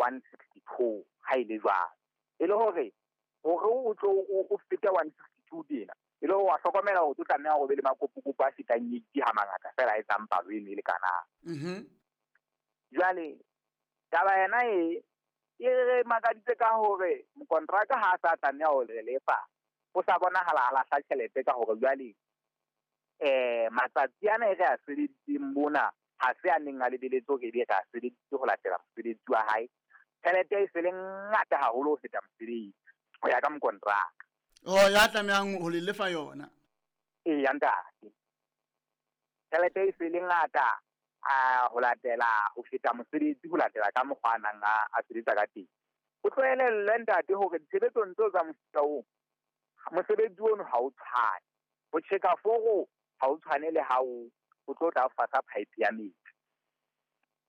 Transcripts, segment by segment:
162 ha ile jwalo. E le hore o tlo o fete 162 tena, e le hore wa hlokomela hore o tlo tlameha hore o be le makopokopo a fetang 80 ha mangata fela a etsang palo eno e lekanang. Jwale taba yena e re makaditse ka hore mokontraka ha a sa tlameha ho re lefa, o sa bonahala a lahla tjhelete ka hore jwale matsatsi ana e re a sebeditseng mona ha se a neng a lebeletse hore ebe re a sebeditse ho latela mosebetsi wa hae. Tjhelete e se le ngata haholo ho feta mosebetsi ho ya ka mokontraka. Oh, ya tlamehang ho le lefa yona. Eya ntate. Tjhelete e se le ngata ho latela ho feta mosebetsi ho latela ka mokgwa a nang a sebetsa ka teng. O tlohele ntate hore ditshebetsong tseo tsa mofuta oo, mosebetsi ono ha o tshwane. Ho tjheka foro ha o tshwane le ha o tlo tla fasa pipe ya metsi.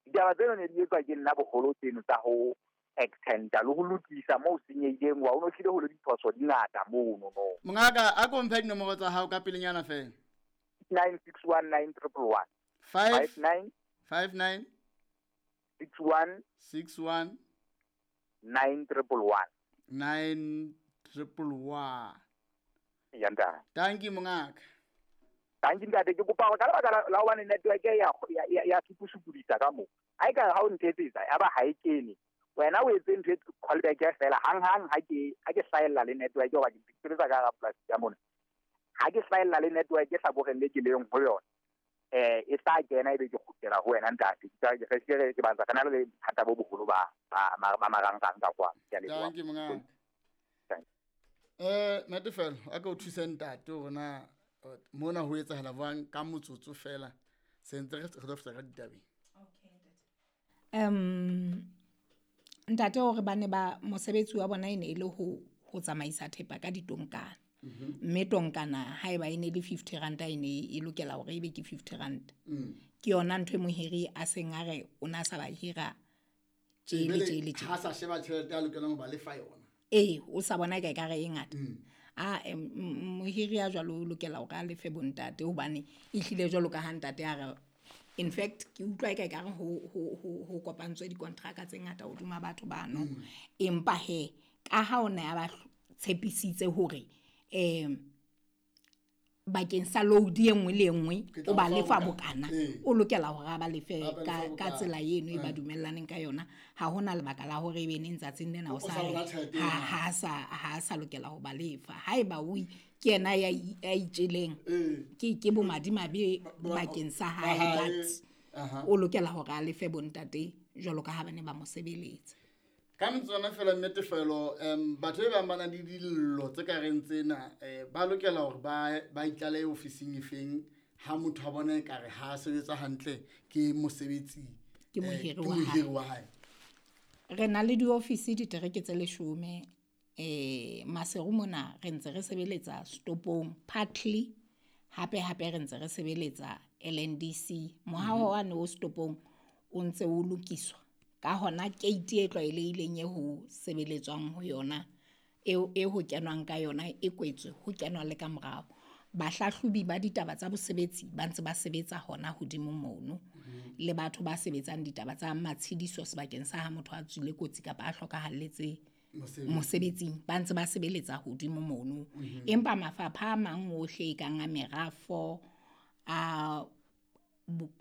Ditaba tseno ne di etswa ke nna boholo tseno tsa ho extenda le ho lokisa moo senyehileng, wa o no hlile ho le diphoso di ngata mono no. Mongaka, a ko mphe dinomoro tsa hao ka pelenyana fela. 9619111. 5 9 5 9 61 6 1 9 111. 9 111. Ya ntate. Thank you mongaka. Thank you ntate, ke kopa hore ka lebaka la hobane network ya sukusukudisa ka moo. Ha e ka ha o nthetsetsa ya ba ha e kene. Wena o etse ntho e call back ya fela hang hang ha ke hlahella le network hoba ke sebetsa ka hara polasi ya mona. Ha ke hlahella le network e hlakoreng le ke leng ho yona, e tla kena ebe ke kgutlela ho wena ntate. Ke batla re na le bothata bo boholo ba marangrang ka kwa. Ke a leboha. Thank you mongaka. Natefelo, a ka o thuse ntate hore na mona ho etsahala jwang ka motsotso fela se ntse re tlo fihla ka ditabeng. Okay ntate. Ntate hore ba ne ba mosebetsi wa bona e ne e le ho tsamaisa thepa ka ditonkana. Mme tonkana haeba e ne le 50 rand e ne e lokela hore ebe ke 50 rand. Ke yona ntho e mohiri a seng a re o na sa ba hira tjele. Ha sa sheba tjhelete a lokelang ho ba lefa yona. Ee, o sa bona ka ekare e ngata. Mohiri ya jwalo o lokela hore a lefe bontate hobane e hlile jwalo ka ha ntate a re, in fact ke utlwa eka ekare ho kopantswe dikontraka tse ngata hodima batho bano. Empa he ka ha o ne a ba tshepisitse hore bakeng sa load e nngwe le e nngwe o ba lefa bokana, o lokela hore a ba lefe ka tsela eno e ba dumellaneng ka yona. Ha hona lebaka la hore ebe neng tsatsing lena o sa ha sa lokela ho ba lefa. Haeba o ke yena ya itjeleng, ke bomadimabe bakeng sa hae, but o lokela hore a lefe bontate jwalo ka ha ba ne ba mo sebeletsa. Ka metswana fela Nnetefelo, batho ba bang ba nang le dillo tse ka reng tsena, ba lokela hore ba itlalehe ofising efeng ha motho a bona ekare ha a sebetsa hantle ke mosebetsi, Ke mohiri wa hae. Ke mohiri wa hae. Re na le diofisi ditereke tse 10, Maseru mona re ntse re sebeletsa stopong partly, hape hape re ntse re sebeletsa LNDC. Mohaho wa no stopong o ntse o lokiswa. Ka hona gate e tlwaelehileng e ho sebeletswang ho yona, e ho kenwang ka yona e kwetswe, ho kenwa le ka morao. Bahlahlobi ba ditaba tsa bosebetsi ba ntse ba sebetsa hona hodimo mono, le batho ba sebetsang ditaba tsa matshediso sebakeng sa ha motho a tswile kotsi kapa a hlokahalletse mosebetsing, ba ntse ba sebeletsa hodimo mono. Empa mafapha a mang ohle e kang a merafo, a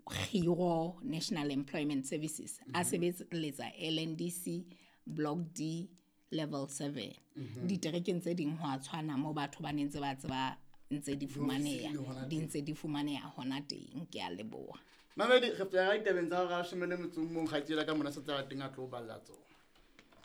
Khiro National Employment Services, a sebeletsa LNDC Block D Level 7. Diterekeng tse ding ho a tshwana moo batho ba ne ntse ba tseba ntse di fumaneha, di ntse di fumaneha hona teng. Ke a leboha. Mamedi, re fihla ka ditabeng tsa hora ya leshome le metso o mong, kgaitsedi ya ka mona se tsa teng a tlo balla tsona.